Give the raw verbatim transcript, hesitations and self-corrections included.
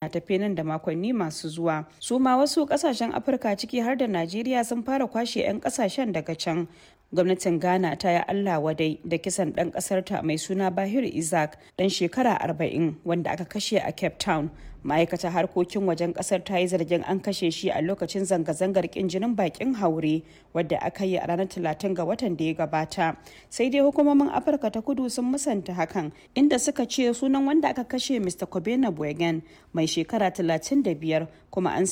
Na tafe nan da makonni masu zuwa. Su ma wasu kasashen Afirka, ciki har da Najeriya, sun fara kwashe 'yan kasashen daga can. Gwamnatin Ghana ta yi Allah wadai da kisan ɗan ƙasarta mai suna Bahir Isaac, ɗan shekara arba'in, wanda aka kashe a Cape Town. Ma'aikatar harkokin wajen ƙasar ta yi zargin an kashe shi a lokacin zanga-zangar ƙin jinin bakin haure wadda aka yi a ranar talatin ga watan da ya gabata. Sai dai hukumomin Afirka ta Kudu sun musanta hakan, inda suka ce sunan wanda aka kashe Mister Kobena Bwegen, mai shekara talatin da biyar, kuma an